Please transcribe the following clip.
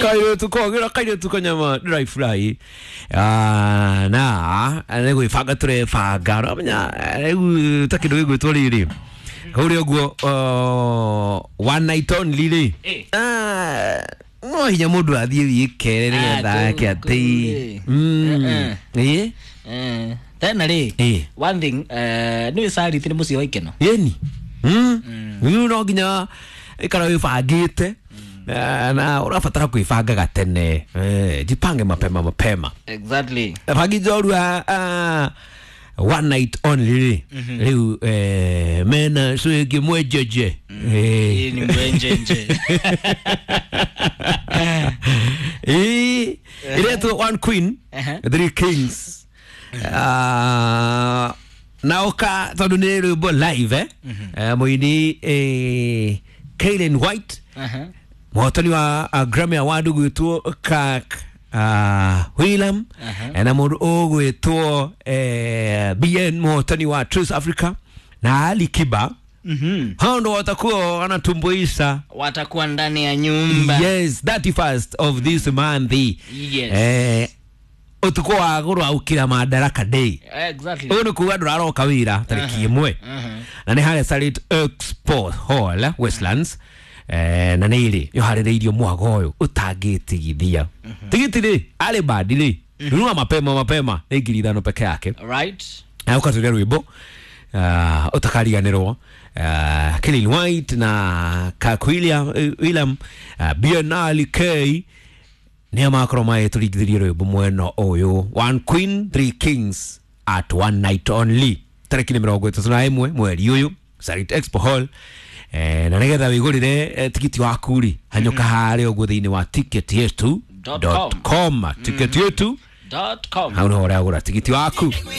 Kairĩtu kogĩra kairĩtu kanyama ndĩraifurahi. Ah, na nĩ gwĩbanga tũrebanga, ũramenya rĩu ta kĩndũ gĩgwĩtwo rĩrĩ kũrĩa ũguo, one night only rĩ. Ah, no hinya mũndũ athiĩ wikere nĩgetha Ah, ake atĩ kũu rĩ. Ĩ. Tena rĩ, one thing, nĩ Sarit nĩ mũciĩ wa ikeno. Yeni rĩu no nginya ikara wĩbangĩte. Na ũrabatara kwĩbanga gatene. Jipange mapema mapema. Exactly. Bangi njorua, one night only rĩ, rĩu mena cwĩngĩ mwenjeje. Hii ni mwenjenje. Ĩ, ĩretwo One Queen Three Kings. Ah, na ũka tondũ nĩ rwĩmbo live, mũini Kaylin White, mũhotani wa Grammy Award ũgwĩtwo Kirk Wheelam, na mũndũ ũgwĩtwo BN, mũhotani wa Trace Africa, na Ali Kiba. Hao ndo watakuwa wanatumbuisha. Watakuwa ndani ya nyumba. Yes, 31st of this month. Yes. Utuku wa gũrwa ũkira Madaraka Day. Exactly. Ũyũ nĩ kuga ndũraroka wĩra tarĩki 1, na nĩ harĩa Sarit Expo Hall, Westlands. Na nĩ ĩrĩ yoharĩrĩirio mwago ũyũ ũtangĩtigithia tigiti rĩ arĩ bandi rĩ nunua mapema mapema, nĩ 5,000 peke yake. Na ũkatũria rwĩmbo ũtakariganĩrwo, Kilin White na Kirk William, William Biennale K nĩo makorwo magĩtũringithĩria rwĩmbo mwena ũyũ, One Queen Three Kings at one night only, tarĩki nĩ 31 mweri ũyũ, Sarit Expo Hall. Na nĩgetha wĩgũrĩre tigiti waku rĩ, hanyũka harĩa ũguo thĩinĩ wa ticket yetu Dot com, ticket yetu Dot com. hau nĩho ũragũra tigiti waku.